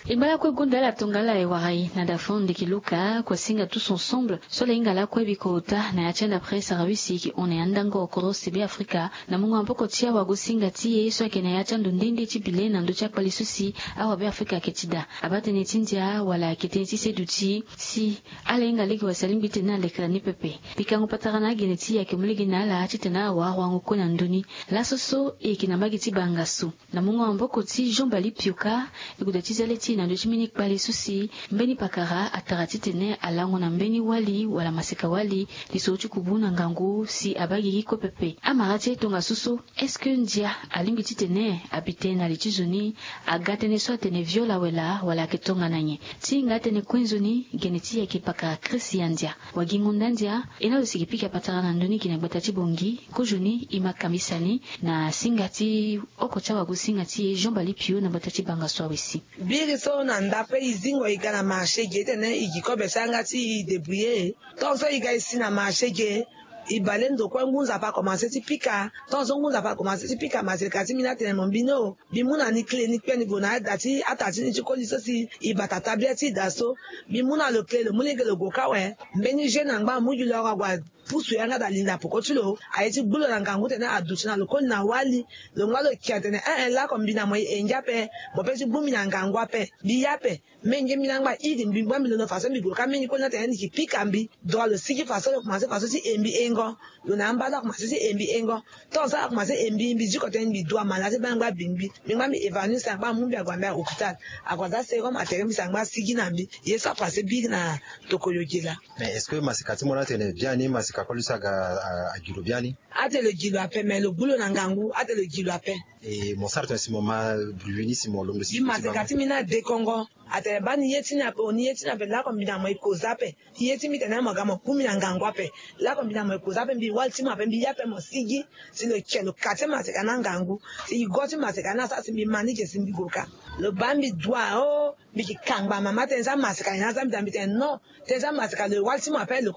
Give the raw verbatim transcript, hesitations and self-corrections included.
E ngba lakue gonda ala tongana ala e wara e na dafon ndeki luka kua singa tous ensemble so ala hinga lakue bikota na ya ti anda presse arawisi e ke hon na ya ndango koros ti be afrika na mungo na mboko ti awago singa ti e so ayeke na ya ti ando nde nde ti bile na ndö ti akpali so si awabe afrika ayeke ti daa abaa tënë ti ndia wala ayeke tënë ti seduti si ala hinga lege wala si alingbi titene ala lekere ni pepe. Pikango patara na agene ti e ayeke mu lege na ala titene awawango kue na ndö ni. Laso so e yeke na mbage ti bangaso na mungo na maboko ti jean bali pioka. E gue daa ti zia le ti e na ndö ti mbeni kpale so si mbeni pakara atara titene alango na mbeni wali wala maseka wali li so ti kubu na ngangu si abaa gigi kue pepe amara ti e tongaso so est-ce que ndia alingbi titene abi tënë na li ti zo ni? Aga tënë so atene viol awe laa wala ayeke tongana nyen? Ti hinga atënë kue nzoni gene ti e ayeke pakara christian ndia. Wagingo nda ndia e na lo si e ke pika patara na ndö ni gi na gbata ti bongi kozoni e ma kambisa ni na singa ti oko ti awago singa ti e jean bali pio na gbata ti banga so awe si. Biri so na nda pe e zingo e ga na marché ge titene e gi kobe ti yanga ti e débrouiller. Tant so e ga e si na marché ge e bale ndo kue ngu nzapa akomanse ti pika tant so ngu nzapa akomanse ti pika maseka ti mbi ni atene mo mbi ni o. Mbi mu na ni kle ni kpe ni gue na ada ti ata ti ni ti koli so si e bata tabia ti e daa so. Mbi mu na lo kle lo mu lege lo gue kâ awe. Mbeni jeune angba amu gi lo ague apusu yanga daa linda poko ti lo aye ti gbu lo na ngangu tene aduti na lo koli na wali. Lo ngba lo kia tene eh eh lako mbi na mo e ngia ape. Mo pe ti gbu mbi na ngangu ape mbi ye ape. Menge mbi na ngba iri mbi ngba mbi londo faso mbi gue ka menge koli na tene ni ki pika mbi. Droit lo sigi faso lo komanse faso ti e mbi engo. Lo na amba lo akomanse ti e mbi engo. Tant so akomanse e mbi mbi diko tene mbi dua mala ti baa ngba bingbi. Mbi ngba mbi évanoui si angba amu mbi ague ambi a hôpital. Ague aza serum atere mbi si angba asigi na mbi. Ye so akomanse biri na tokoyo ge laa. Mais est-ce que maseka ti mo ni atene biani maseka koli so aga? Agi lo biani. Atene lo gi lo ape mais lo gbu lo na ngangu atene lo gi lo ape. E mo sara tene si mo ma bruit ni si mo lombe si mbi maseka ti mbi ni adekongo. Atene baa ni ye ti ni ape o ni ye ti ni ape lako mbi na mo e koza ape. Ye ti mbi tene mo ga mo ku mbi na ngangu ape. Lako mbi na mo e koza ape mbi wali ti mo ape mbi ye ape mo sigi. Si lo ke lo kate maseka ni angangu. Si e go ti maseka ni asara si mbi ma ni ge si mbi gue ka. Lo baa mbi dua o. Mbi ke kangba mama tene za maseka ni aza mbi daa mbi tene non. Tene za maseka lo e wali ti mo ape lo.